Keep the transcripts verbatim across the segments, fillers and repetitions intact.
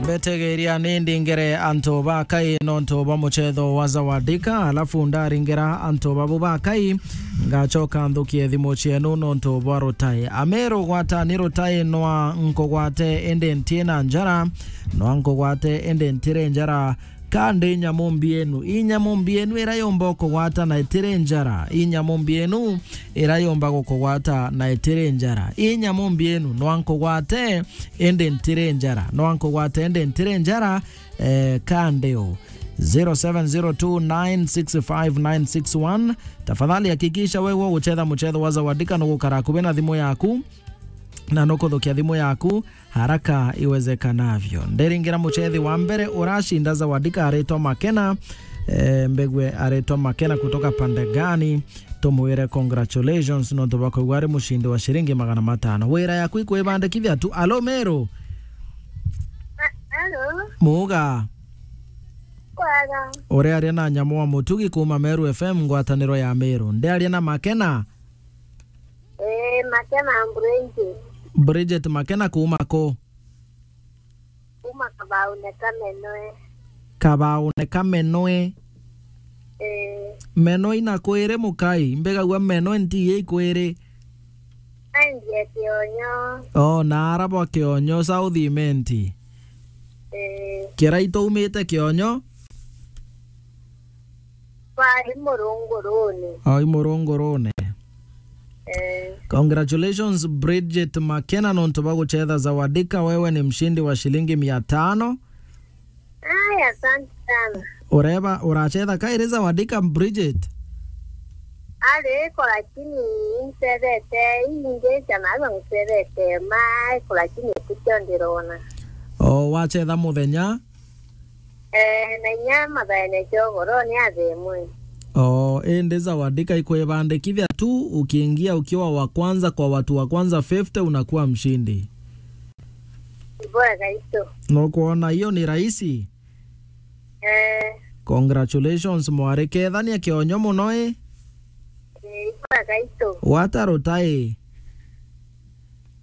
Mbetegeria ni ndingere antu ba Kai nontu bwa muchetho wa Zawadika, alafu ndaringera antu babu ba Kai, ngachoka nthukie thimu cienu nontu bwa rutai. Ameru gwata ni rutai nwa nkugwate indi ntiina njara, nwa nkugwate indi ntire njara, ka ndi nyamu mbienu. I nyamu mbienu ira yomba gukugwata na itire njara. I nyamu mbienu ira yomba gukugwata na itire njara. I nyamu mbienu, nwa nkugwate indi ntire njara. Nwa nkugwate indi ntire njara, eh, ka ndi u. Zero seven zero two nine six five nine six one. Tafadhali hakikisha wewe uguchetha muchetho wa Zawadika nugukara akubi na thimu yaku, na nukuthukia thimu yaku haraka iwezekanavyo. Ndiringira muchethi wa mbere uracinda Zawadika aritwa Makena, eh, mbegwe aritwa Makena kutoka pande gani? Tumwire congratulations nontu bwa kwigua ari mucindi wa ciringi magana matano. Wira yaku ikwibandikithia tu. Alo, Meru? Alo? Muga? Kwega. Uriaria na Nyamu wa Mutugi kuma Meru F M, ngwataniro ya Meru. Ndiaria na Makena? Ee, Makena Bridget. Bridget Makena kuma ku? Kuma Kabaune Kamenwe. Kabaune Kamenwe. Ee. Meno ina kwiri mukai, mbigagua meno ntiye ikwiri. Endia Kionyo. Oh, na ara bwa Kionyo, South Imenti. Ee. Kira itaumite Kionyo? Kwari Murungurune. Oh, i Murungurune. Eh. Congratulations, Bridget Makena, nontu bwa guchetha Zawadika. Wewe ni mshindi wa shilingi mia tano. Aya, asante sana. Ureba, urachetha kairi Zawadika, Bridget? Ari iko, lakini ncethete, ingi ciana iba ncethete, ma iko, lakini itikio ndirona. Oh, wachetha muthenya? Eh, na inya mathaene ciogoro ni athemwe. Oh, indi Zawadika ikwibandikithia tu, ukiingia ukiwa wa kwanza kwa watu wa kwanza fifty, unakuwa mshindi. Ibwega itu. Nukwona hiyo ni rahisi? Eh. Congratulations, mwari. Kethania Kionyo muno, i? Eh, ibwega itu. Gwata rutai.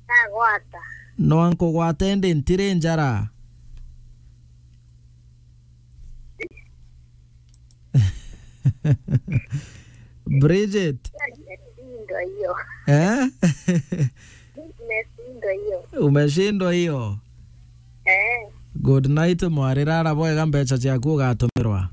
Nagwata. Nwa nkugwate ndi ntiri njara. Bridget. Nimeshindwa hiyo. Eh? Nimeshindwa hiyo. Umeshindwa hiyo? Eh. Good night, mwari, rara bwega, mbeca ciaku ugatumirwa.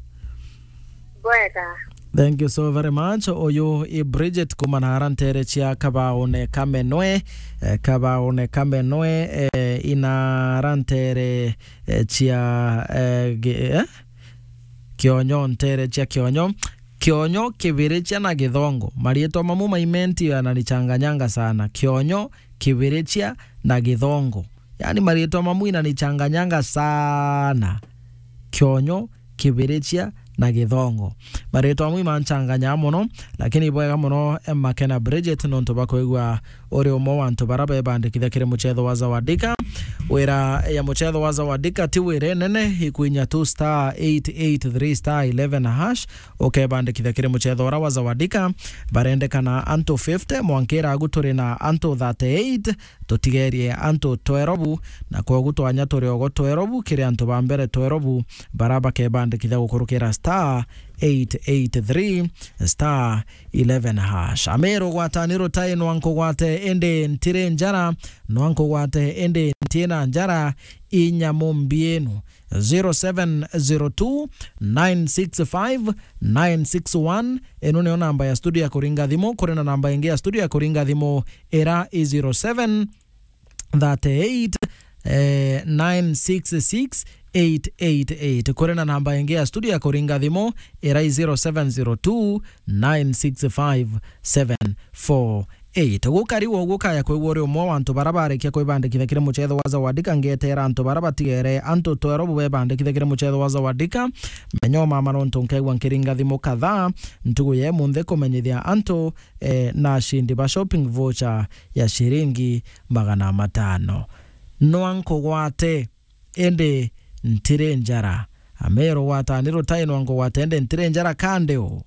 Bwega. Thank you so very much. Uyu i Bridget kuma nara ntere cia Kabaune Kamenwe, eh, Kabaune Kamenwe, eh, inara ntere, eh, cia, eh, ge-, eh? Kionyo, ntere cia Kionyo. Kionyo, Kibirichia na Githongo. Marietwa mamu maimenti yananichanganyanga sana. Kionyo, Kibirichia na Githongo. Yaani marietwa mamu inanichanganyanga sana. Kionyo, Kibirichia na Githongo. Marietwa mamu imanchanganya mono, lakini ibwega mono, eh, Makena Bridget, nontu bwa kwigua uri umwe wa antu bara bebandikithia kiri muchetho wa Zawadika. Wira ya muchetho wa Zawadika ti wira nene, ikwinya tu star eight eight three star eleven hash, ukebandikithia kiri muchetho ura wa Zawadika. Barendekana antu fifty, mwankira agu turi na antu thirty-eight, tutigerie antu twelve, na kwogu twanya turi ogo twelve kiri antu ba mbere twelve bara bakebandikithia gukurukira star eight eight three star eleven hash. Ameru gwata ni rutai, nwa nkugwate indi ntiri njara, nwa nkugwate indi ntiina njara, i nyamu mbienu. Zero seven zero two nine six five nine six one. Ino niyo namba ya studio ya kuringa thimu. Kuri na namba ingi ya studio ya kuringa thimu, ira i zero seven thirty-eight, eh, nine six six eight eight eight. Kuri na namba ingi ya studio ya kuringa thimu, ira i zero seven zero two nine six five seven four eight. Gukari wo gukaya kwigua uri umwe wa antu bara barikia kwibandikithia kiri muchetho wa Zawadika, ngetera antu bara batigere antu twelve bebandikithia kiri muchetho wa Zawadika. Menya umama nontu nkegua nkiringa thimu kadhaa ntugu ya imunthi kumenyithia antu, eh, na ashindi ba shopping voucher ya shiringi magana matano. Nwa nkugwate, indi ntiri njara. Ameru gwata ni rutai, nwa nkugwate, indi ntiri njara, kandi u?